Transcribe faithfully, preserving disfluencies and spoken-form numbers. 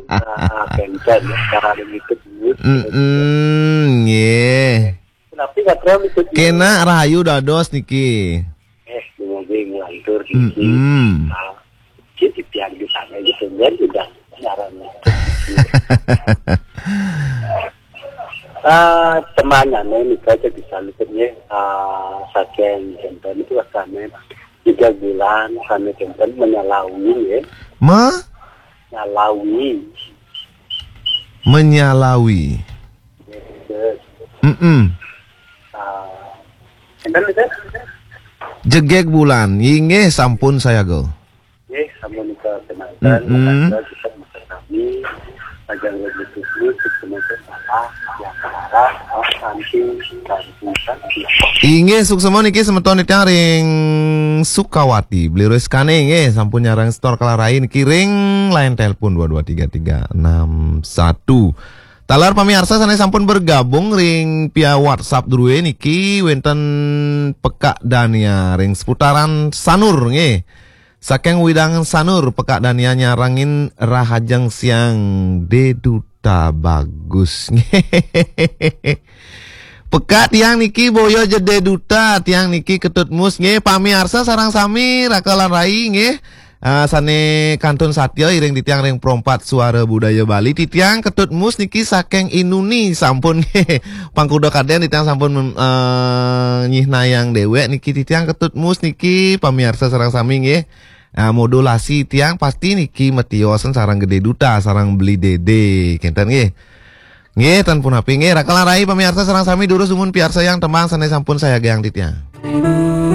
Nah, kenten ya, cara ada gitu, Bu. Mm-mm, nggih. Tapi nggak terlalu gitu, Bu. Kena rahayu dados niki. Eh, dumogi nglantur niki. Mm-mm. Nah, jadi pian di sana gitu, dan udah nyaran. Ah, temanane nika aja bisa luput ya. Ah, saking kenten itu rasanya tiga bulan, kami kenten menyalawi ya. Ma? Nyalawi. Menyalawi. Yes. Mm-mm. Ah, enten itu? Jegeg bulan. Inggih, sampun saya go. Nggih, sampun nika kenakan, mm-mm, maka kita bisa kami, ajang lebih tusuk, semoga salah, yang salah, oh, nanti, nanti, nanti. Inggih, suksema niki semeton titiang ring Sukawati, Beli Rizkane nggih, sampun nyarang setor kalarai niki ring line telepon dua dua tiga tiga enam satu. Taler pamiarsa sane sampun bergabung ring via WhatsApp druwe niki wenten Pekak Dania ring seputaran Sanur nggih. Saking Widang Sanur, Pekak Dania nyarengin Rahajeng Siang Deduta Bagus. Pekak tiang niki boya jede duta, tiang niki Ketut Mus nggih, pamiarsa sareng sami, raka lan rai nggih. Ah, sane kantun satya iring titiang ring Perompat Suara Budaya Bali, titiang Ketut Mus niki saking Inuni sampun nggih. Pangkuda kaden titiang sampun mem-, eh, nyihnayang dewek niki titiang Ketut Mus niki pamiarsa sareng sami nggih. Ah, modulasi tiang pasti niki matiosan sareng Gede Duta, sareng Beli Dede, kenten nggih. Nggih, ten punapi nggih, raka lan rai pamiarsa sareng sami durus dumun piarsayang tembang sane sampun sayagiang titiang.